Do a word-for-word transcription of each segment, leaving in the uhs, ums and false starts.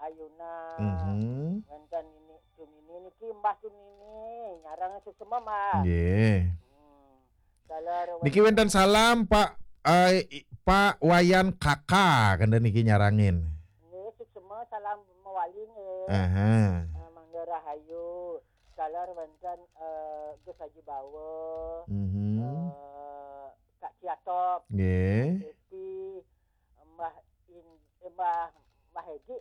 Ayuna. Mhm. Wénten Nini Tumini niki, Mbah Tumini, nyarang suksma, Mbah. Nggih. Hmm. Dalar niki wénten salam Pak, eh, i-, Pak Wayan Kaka, kenten niki nyarangin. Nggih, suksma salam mawali nggih. Aha. Eh, mangga rahayu. Dalar wénten, eh, Gus Haji Bawa, Mhm. eh, Kak Ciatop, Nggih. Depi, Mbah In-, eh, Mbah, Mbah Edi.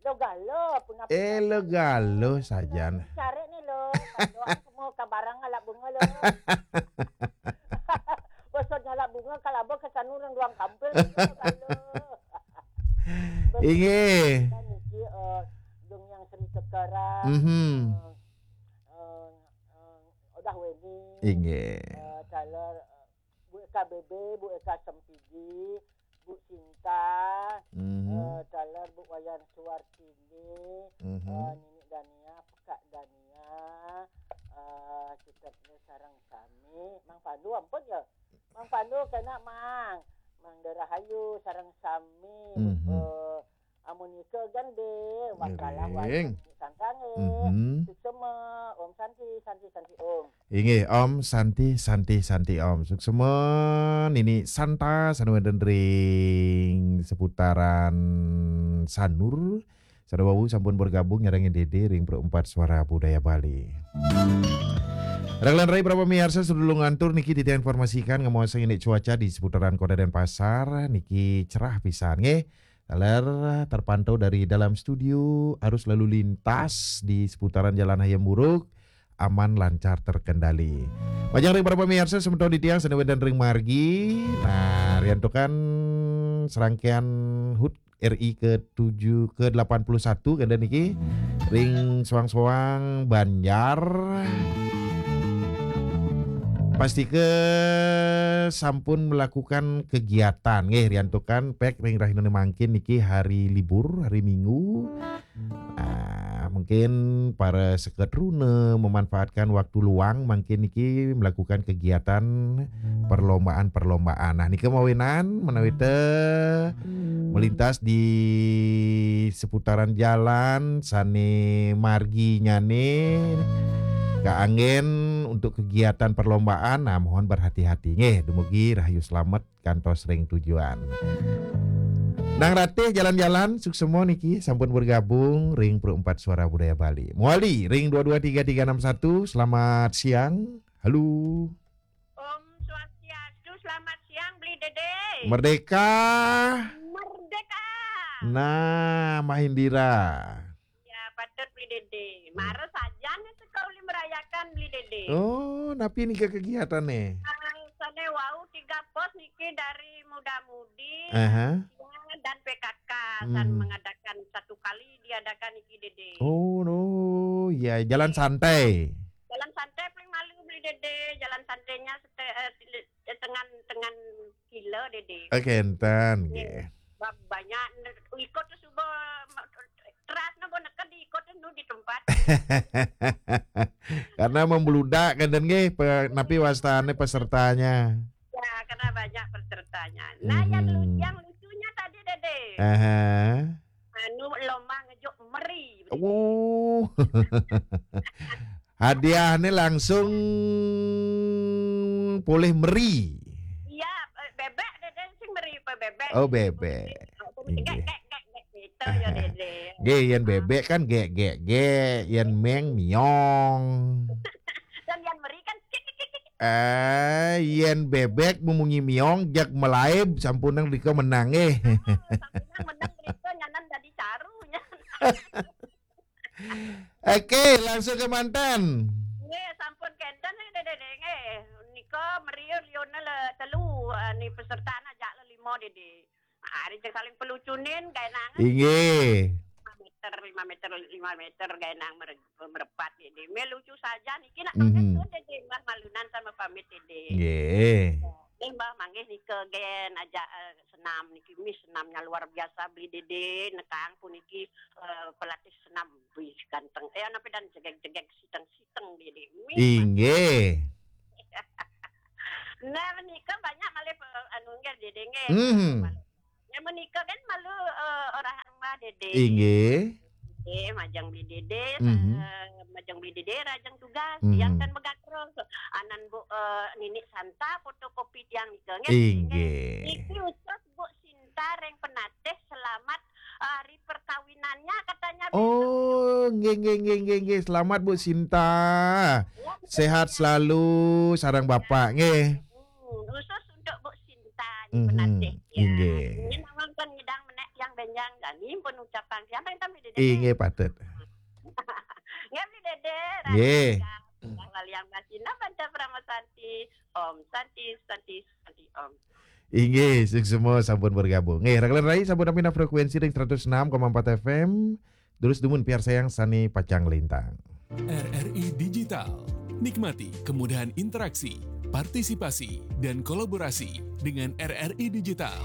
Lo galo, punapa? Eh, lo galo sajan. Cari nih lo, kandoan semua kabarang ngalap bunga lo. Bosok ngalap bunga, kalaba kesanu orang ruang kampil, lo galo. Inggih. Dan niki, eh, Dung Yang Sri Sekara, Mhm. eh, eh, eh, Odah Weni, Inggih. eh, dalar, eh, Bu Eka B B, Bu Eka Sempidi, Bu Sinta, Mhm. eh, dalar Bu Wayan Suwartini, Mhm. eh, Nini Dania, Kak Dania, eh, Citepne sareng sami. Mang Pandu ampun ya. Mang Pandu kena, Mang. Mang Derahayu sareng sami. Mhm. Eh, amunika gén dé, wakalah Ngiring. Wayang Santangé. Mhm. Suksma, Om Santi, Santi, Santi, Om. Inggih, Om Santi, Santi, Santi, Om. Suksma, Nini Santa, sané wénten ring seputaran Sanur. Sané wau sampun bergabung nyarengin Dédé ring Pro Empat Suara Budaya Bali. Raglan rai para pamiarsa, sadurung ngantur niki titiang informasikan ngamuasang indik cuaca di seputaran Kota Denpasar, niki cerah pisan, nggih. Taler terpantau dari dalam studio, arus lalu lintas di seputaran Jalan Hayam Wuruk aman lancar terkendali. Pajang ring para pamiarsa semeton titiang sané wénten ring margi. Nah, riantukan serangkaian hut R I ke tujuh, ke delapan puluh satu kenten niki ring soang-soang banjar. Pastika sampun melakukan kegiatan nggih, riantukan pék ring rahinané mangkin niki hari libur, hari Minggu. Nah, mungkin para seket runa memanfaatkan waktu luang mangkin niki melakukan kegiatan perlombaan-perlombaan. Nah, nika mawinan menawi té melintas di seputaran jalan sané marginyané kaanggén untuk kegiatan perlombaan, nah, mohon berhati-hati nggih. Dumugi rahayu slamet kantos ring tujuan. Nang Ratih jalan-jalan, suksma niki sampun bergabung ring Pro Empat Suara Budaya Bali. Mawali ring dua dua tiga tiga enam satu, selamat siang. Halo. Om Swastiastu, selamat siang, Bli Dédé. Merdeka. Merdeka. Nah, Mahindira. Ya, patut, Bli Dédé. Hmm. Mara sajan nih seka uli merayakan, Bli Dédé. Oh, napi nika kegiatané? Ah, sané wau tiga pos niki dari muda-mudi, Aha. lansia, dan P K K, san Hmm. mengadakan satu kali diadakan niki, Dédé. Oh, no. Ya, jalan santai. Jalan santai paling malu, Bli Dédé. Jalan santainya sete-, eh, tile-, eh, tengan, tengan kilo, Dédé. Oke, enten, Nggih. nggih. Ba-, banyak ner-, ikut tu suba, ma-, teras na bo neked diikut tu nu di tempat. Karena membludak kan, dan nggih, pe-, napi wastane pesertanya. Ya, karena banyak pesertanya. Nah, yang lu-, Mhm. yang lucunya tadi, Dédé. Aha. Anu, lomba ngejuk meri. Oh. Hadiahnya langsung polih meri. Iya, eh, bebek, Dédé, sing meri apa bebek? Oh, bebek. Inggih. Gek, gek, gek, gek, gitu ya, Dédé. Nggih, yen bebek kan gek, gek, gek, yen meng miong. Dan yang meri kan kik, kik, kik, kik. Eh, yen bebek memunyi miong, jak melaib, sampunang rika menang, eh. Ah, sampunang menang rika, nyanan dadi caru, nyan. Oke, langsung ke manten. Nggih, sampun kenten, nggih, Dédé, nggih. Nika meri liune le telu, eh, ni peserta ajak le lima, Dédé. Hari sing saling pelucunin, gaenangan. Inggih. Lima meter, lima meter, lima meter, gaenang mere-, merepat, Dédé. Meh lucu saja niki nak Mhm. pamit, Dédé. Mbah malunan sama pamit, Dédé. Nggih. Nggih, Mbah, manggih nika gen ajak, eh, senam niki. Mih senamnya luar biasa, Bli Dédé. Nekang puniki, eh, pelatih senam. Wih, ganteng. Eh, napi dan jegeg-jegeg, siteng-siteng, Dédé. Mih, Inggih. Nah, menika banyak malih, eh, anu, nggih, Dédé, nggih. Mhm. Malih. Ya, menika kan malu, eh, orang rumah, Dédé. Inggih. Eh, majeng beli dede, Mhm. eh, majeng beli dede, rajeng tugas, Mhm. tiang kan megakrol. Anan bu, eh, nini santa fotokopi tiang nika, nggih. Inggih. Niki khusus Bu Sinta ring Penatih, selamat hari perkawinannya katanya. Oh, nggih, nggih, nggih, nggih, nggih. Selamat, Bu Sinta. Ya, Sehat selalu sareng Bapak, nggih. Hmm, khusus untuk Bu Sinta Mhm, Penatih, ya. inggih. Ini nawang kan ngidang menek yang benjang dan ini pun ucapan siapa yang tampil di Inggih, patut. Nggih, beli dede. Nggih. Waliang Basina Panca Parama Santi. Om Santi, Santi, Santi, Om. Inggih, suksma sampun bergabung. Nggih, rekan rai sampun nampi frekuensi ring seratus enam koma empat F M. Terus dumun piarsayang sane pacang lintang. R R I Digital. Nikmati kemudahan interaksi, partisipasi, dan kolaborasi dengan R R I Digital.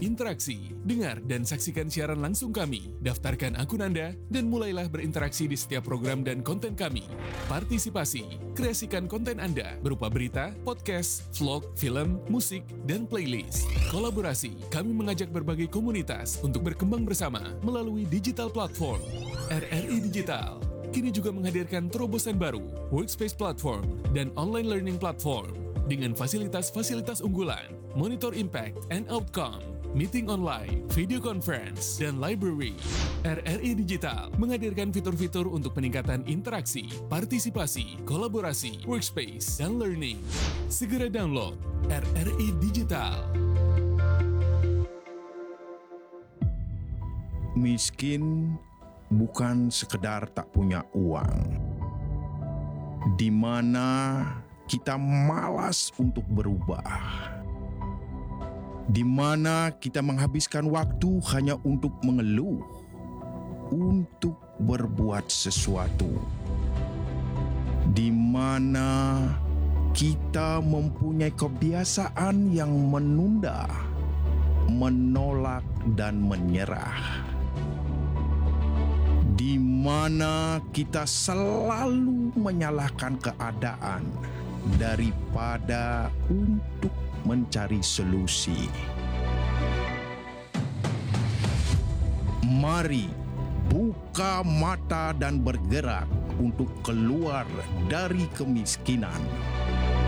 Interaksi, dengar dan saksikan siaran langsung kami. Daftarkan akun Anda dan mulailah berinteraksi di setiap program dan konten kami. Partisipasi, kreasikan konten Anda berupa berita, podcast, vlog, film, musik, dan playlist. Kolaborasi, kami mengajak berbagai komunitas untuk berkembang bersama melalui digital platform. R R I Digital kini juga menghadirkan terobosan baru, Workspace Platform, dan Online Learning Platform dengan fasilitas-fasilitas unggulan, monitor impact and outcome, meeting online, video conference, dan library. R R I Digital menghadirkan fitur-fitur untuk peningkatan interaksi, partisipasi, kolaborasi, workspace, dan learning. Segera download R R I Digital. Miskin bukan sekedar tak punya uang, di mana kita malas untuk berubah, di mana kita menghabiskan waktu hanya untuk mengeluh, untuk berbuat sesuatu, di mana kita mempunyai kebiasaan yang menunda, menolak, dan menyerah, di mana kita selalu menyalahkan keadaan daripada untuk mencari solusi. Mari buka mata dan bergerak untuk keluar dari kemiskinan.